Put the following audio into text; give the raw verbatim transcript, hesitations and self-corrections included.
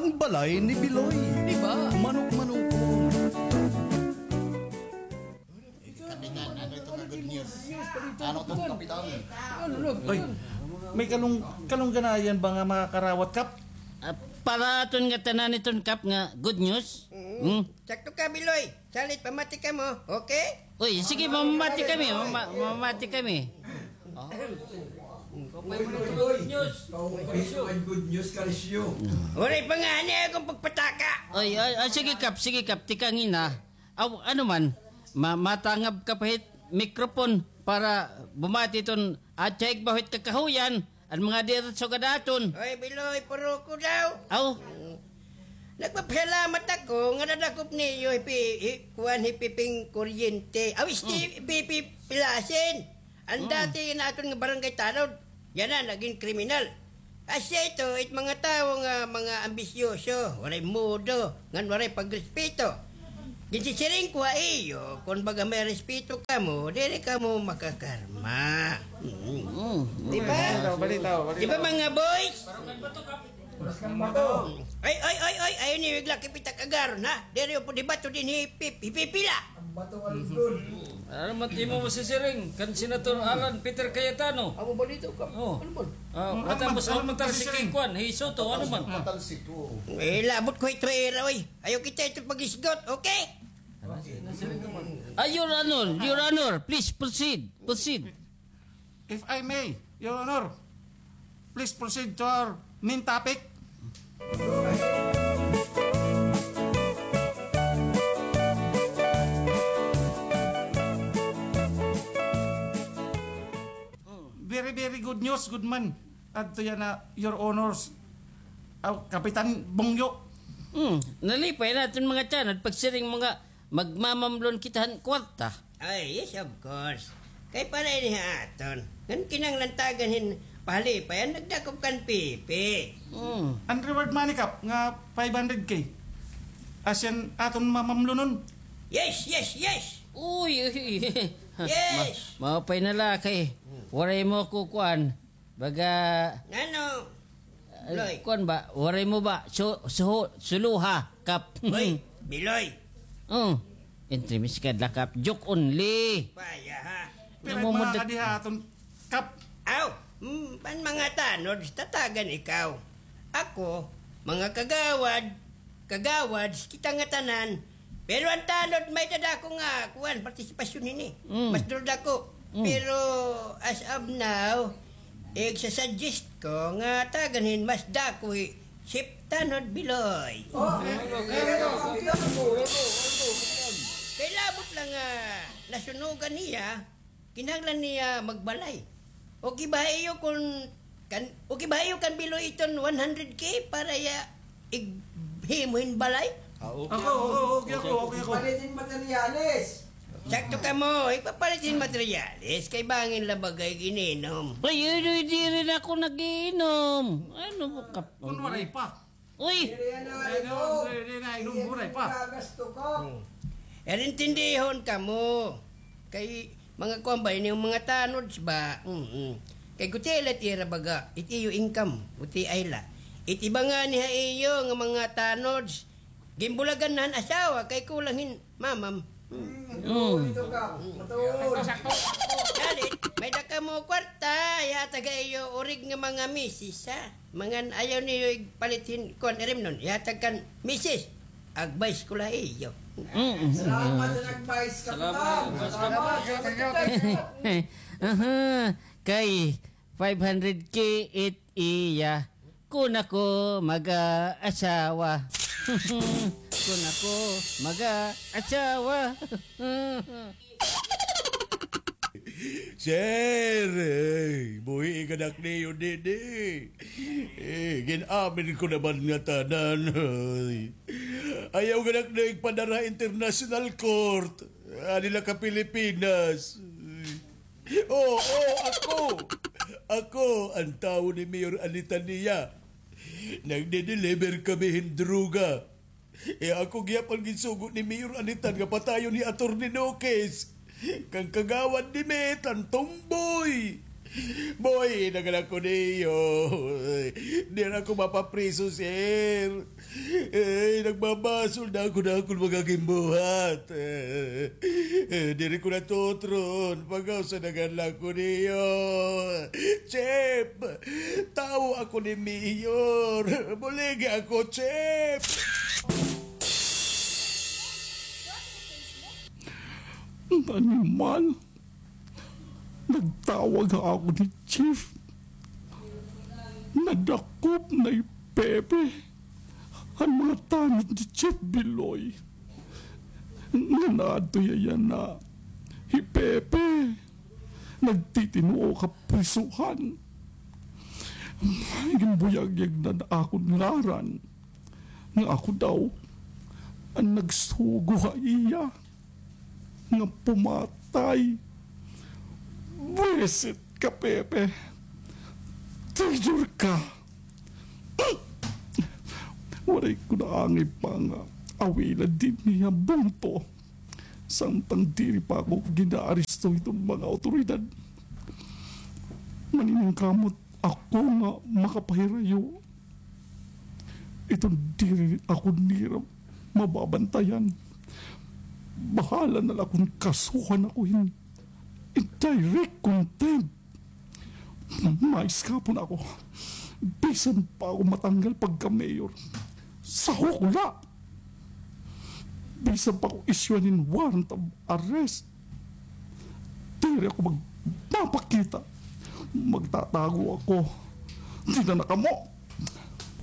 Ang balay ni Biloy. Di ba? Manok-manokon. Kapitan, ano ito nga good news? Ano ito, Kapitan? Ano, ano? Ay, may kalung-, kalungganayan ba nga makakarawat, Kap? Ah, para aton ngatanan iton, Kap, nga good news. Mm. Hmm? Sakto ka, Biloy. Salit, pamati kamo, okay? Uy, sige, mamamati kami, mama-, mamamati kami. Good news. Good news, Karisyo. Waray pa ngani akon pagpataka. Ay, ay, ay, sige, Kap, sige, Kap, tikangin, ha. Aw, ano man, ma-, matangab ka pa hit microphone para bumati iton atsay bahit kakahuyan, an mga diretso gad aton. Oy, Biloy, puro ko daw. Aw. Nagpapasalamat ako nga nadakop niyo hi Pi-, hi, kuan, hi Piping Kuryente. Aw, isti, Pipi Pilasin. An dati naton nga barangay tanod, yana nagin kriminal. Asya ito, it mga tawo nga mga ambisyoso, waray modo, ngan waray pagrespeto. Ginsisiring ko ha iyo, kon baga may respeto kamo, diri kamo makakarma. Mm. Mm. Di ba? Balitaw, balitaw, balitaw. Di ba, mga boys? Ay, ay, ay, ay, ayaw niyo iglaki pitak agaron, ha? Diri po dibato dinhi hi Pip-, hi Pipila. Ang bato nga lindol. Ano man timo masisiring kan Senator Alan Peter Cayetano? Amo balitaw ka. Oh. Ano man? Ah, wala mo sa matalsik, kuan, hi Soto, ano man? Matalsik ko. Eh, labot ko ito, era, oy. Ayaw kita ito pag-isgot, okay? Ah, Your Honor, Your Honor, please proceed, proceed. If I may, Your Honor, please proceed to our main topic. Very, very good news, good man. Adto yana, Your Honors. Aw, Kapitan Bongyo. Hmm, nalipay naton mga tiyan, pagsiring mga magmamamlon kita han kwarta. Ay, yes, of course. Kay para ini ha aton. Ngan kinahanglan tagan hin pahalipayan, nagdakop kan Pipi. Hmm. An reward money, Kap, nga five hundred K. Asya an aton mamamlonon. Yes, yes, yes. Uy, uy. Yes. Ma-, maupay na la kay waray mo kukuan. Baga, ngano? Ay, Loy. Kuan ba? Waray mo ba? Su-, su-, suluha, Kap. Hoy, Biloy. Oh, entremis ka la, Kap. Joke only. Paya, ha? Pero mga kadiha aton, Kap. Aw, mm, pan mga tanod, tatagan ikaw. Ako, mga kagawad, kagawad, kita nga tanan. Pero an tanod, may-ada dako nga, kuan, partisipasyon hini. Mm. Mas duro dako. Mm. Pero, as of now, igsasuggest ko nga tagan hin mas dako hi Chief Tanod Biloy. Oh, kay labot la nga nasunugan niya, kinahanglan niya magbalay. Okay ba ha iyo kon kan, okay ba ha iyo kan Biloy iton one hundred K para iya ighimo hin balay? Ah, okay ako, okay ako, okay ako. Palit hin materyales. Sakto kamo, igpapalit hin materyales kay bangin la baga ig-inom. Ay, ay, ay, diri na ako nag-iinom. Ano ba ka? Kun waray pa. Uy! Diri na, diri na, inom, waray pa. Hmm. Pero intindihon kamo. Kay mga kuan ba, ini mga tanods ba? Mm-mm. Kay gutiay la it ira baga, it iyo income, gutiay la. It iba ngani ha iyo nga mga tanods, ginbulagan na han asawa kay kulang hin mamam. Mm. Matuod ito ka. Matuod. Dalit, may-ada kamo kwarta, ihatag ha iyo urig nga mga misis, ha? Mangan, ayaw niyo igpalit hin kuan, irimnon, ihatag kan misis. Advice ko la iyo. Mm, mm, mm. Salamat sa nag-advice, Kapitan. Salamat. Salamat. Aha. Kay five hundred K it iya. Kun ako mag-aasawa. Kun ako mag-aasawa. Sir, eh, buhii an anak niyo didi. Eh, gin-amin ko naman ngatanan. Ay. Ayaw an anak niyo igpadara international court. Adi la ka Pilipinas. Oo, ako. Ako an tawo ni Mayor Anitania. Nagde-deliver kami hin droga. Eh, ako gihapon ginsugo ni Mayor Anitan nga patayon hi Attorney Nokes. Kan kagawad ni Met, an tomboy. Buhi na gad ako niyo. Diri ako mapapriso, sir. Ay, nagbabasol na ako na akon mga gimbuhat. Eh, diri ko natutron. Pag-usa na gad ako niyo. Chief, tawo ako ni Mayor. Buligi ako, Chief. Animal. Nagtawag ha akon hi Chief. Nadakop na hi Pepe han mga tanod ni Chief Biloy. Ngan adto hiya yana hi Pepe nagtitinoo ha prisuhan. Ginbuyagyag na an akon ngaran nga ako daw an nagsugo ha iya nga pumatay. Buwisit ka, Pepe. Traidor ka. Waray ko naangay pa nga awilan dinhi ha bungto. Samtang diri pa ako ginaaresto hiton mga awtoridad. Maniningkamot ako nga makapahirayo. Iton diri ako nira mababantayan. Bahala na la kon kasuhan ako hin indirect contempt. Maiskapon ako. Bisan pa ako matanggal pagka-mayor. Sahok la. Bisan pa ako isyuhan hin warrant of arrest. Diri ako magpapakita. Magtatago ako. Dida na kamo.